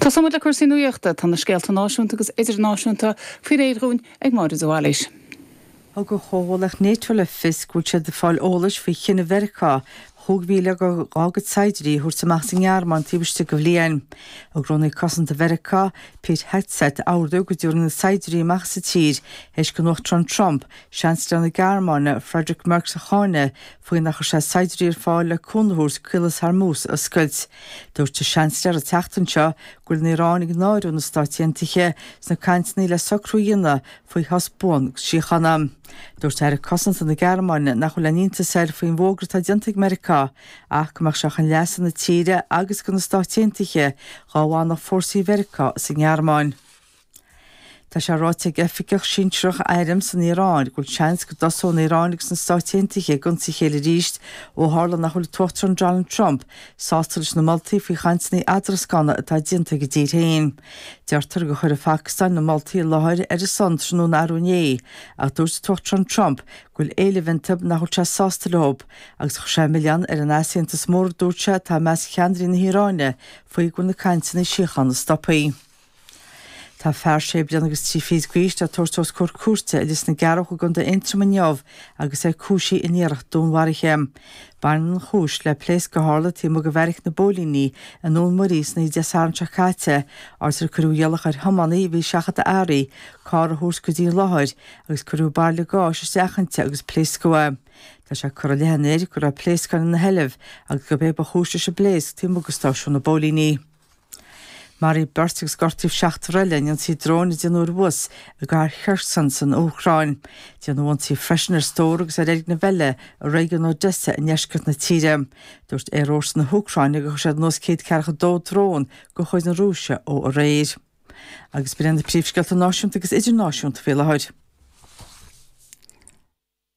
Tosóidh muid le cúrsaí nuachta. Tá na scéalta náisiúnta agus idirnáisiúnta faoi réir dhúinn ag Máire de Bhailís. Thug an chomhlacht Nato le fios go bhfuil siad ag fáil eolais faoi chinneadh Mheiriceá 15,000 dá gcuid saighdiúirí a thabhairt amach as an nGearmáin taobh istigh de bhliain. Thug Rúnaí Cosanta Mheiriceá, Pete Hegseth, ordú go dtabharfaí na saighdiúirí amach as an tír théis don Uachtarán Trump Seansailéir na Gearmáine, Friedrich Merz a cháineadh faoi nach chuir sé saighdiúirí ar fáil le cúnamh a thabhairt Caolas Hormuz a oscailt. Dúirt an Seansailéir an tseachtain seo go bhfuil an Iaráin ag náiriú na Stáit Aontaithe sna cainteanna le socrú a dhéanamh faoi shos buan síochána. Dúirt Aire Cosanta na Gearmáine nach bhfuil aon iontas air faoin bhfógra atá déanta ag Meiriceá ach go mbeadh sé chun leasa na tíre agus do na Stáit Aontaithe dhá bhfanfadh fórsaí Mheiriceá sa nGearmáin. Tá sé ráite ag oifigeach sinsearach airm san Iaráin go bhfuil seans go dtosóidh an Iaráin agus na Stáit Aontaithe ag ionsaí a chéile arís ó tharla nach bhfuil an tUachtarán Donald Trump sásta leis na moltaí faoi chainteanna eadrascána atá déanta ag a dtír féin. Deirtear gur chuir an Phacastáin na moltaí i láthair ar a son tráthnóna arú inné ach dúirt an tUachtarán Trump go bhfuil éilimh iontu nach bhfuil sé sásta leo agus chuir sé an milleán ar an easaontas mór a dúirt sé atá i measc cheannairí na hIaráine faoi go bhfuil na cainteanna síochána stoptha. Tá fear sé bliana agus 3 fichid d'aois le tabhairt os comhair cúirte i Lios na gCearrbhach i gContae Aontroma inniu agus é cúisithe in iarracht dúnmharaithe. Baineann an chúis le pléasc a tharla taobh amuigh de bheairic na bpóilíní i nDún Muirí san oíche Dé Sathairn seo caite, áit ar cuireadh iallach ar thiománaí a bhí ag seachadadh earraí carr a thabhairt go dtí an láthair agus cuireadh bairille gáis isteach inti agus pléascadh é. Tá sé curtha i leith an fhir go raibh pléascáin ina sheilbh agus gurb é ba chúis leis an bpléasc taobh amuigh de stáisiún na bpóilíní. Maraíodh beirt agus gortaíodh seachtar eile in ionsaí dróin a déanadh ar bhus i gcathair Kherson san Úcráin. Déanadh ionsaí freisin ar stór agus ar fhoirgneamh eile i réigiún Odessa i ndeisceart na tíre. Dúirt aerfhórsa na hÚcráine gur chuir siad anuas 142 drón de chuid na Rúise ó aréir. Agus b'in iad na príomhscéalta náisiúnta agus idirnáisiúnta faoi láthair.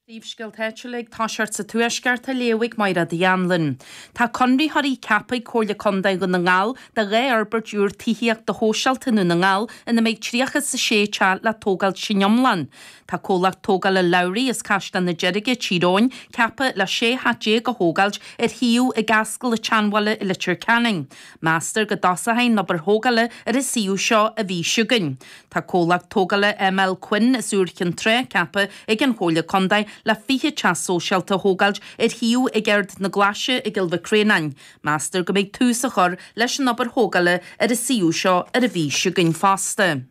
Príomhscéalta áitiúla ag toiseacht sa Tuaisceart á léamh ag Mairéad Uí Anluain. Tá conraitheoirí ceaptha ag Comhairle Contae Dhún na nGall do dhá fhorbairt úr tithíochta shóisialta i nDún na nGall ina mbeidh 36 teach le tógáilt san iomlán. Tá comhlacht tógála Lowry as Caisleán na Deirge, Tír Eoghain, ceaptha le 16 theach a thógáilt ar shuíomh ag Ascaill an tSeanbhaile i Leitir Ceanainn. Meastar go dtosóidh an obair thógála ar an suíomh seo an mhí seo chugainn. Tá comhlacht tógála ML Quinn as Iúr Chinn Trá ceaptha ag an Chomhairle Contae le 20 teach sóisialta a thógáilt ar shuíomh ag Ard na Glaise i gCill Mhic Réanáin. Meastar go mbeidh tús á chur leis an obair thógála ar an suíomh seo ar an mhí seo chugainn fosta.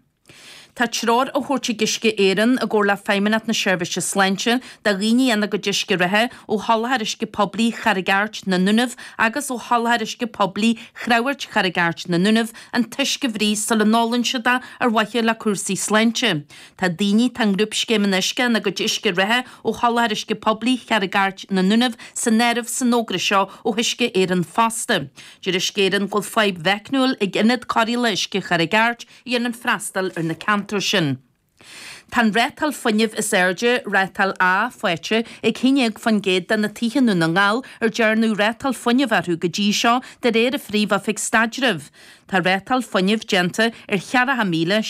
Tá treoir á thabhairt ag Uisce Éireann i gcomhar le Feidhmeannacht na Seirbhíse Sláinte do dhaoine ina gcuid uisce reatha ó sholáthar uisce poiblí Charraig Airt, na nDúnaibh agus ó sholáthar uisce poiblí Chreamhairt Charraig Airt, na nDúnaibh an t-uisce a bhruith sula n-ólann siad é ar mhaithe le cúrsaí sláinte. Tá daoine atá i ngrúpscéim an uisce ina gcuid uisce reatha ó sholáthar uisce poiblí Charraig Airt, na nDúnaibh san áireamh san fhógra seo ó Uisce Éireann fosta. Deir Uisce Éireann go bhfuil fadhb mheicniúil ag ionad cóireála uisce Charraig Airt a dhéanann freastal ar na ceantair sin. Tá an rátáil fuinnimh is airde, rátáil A, faighte ag 11% de na tithe i nDún na nGall ar dearnadh rátáil fuinnimh orthu go dtí seo, de réir an Phríomh-Oifig Staidrimh. Tá rátáil fuinnimh déanta ar 40,700.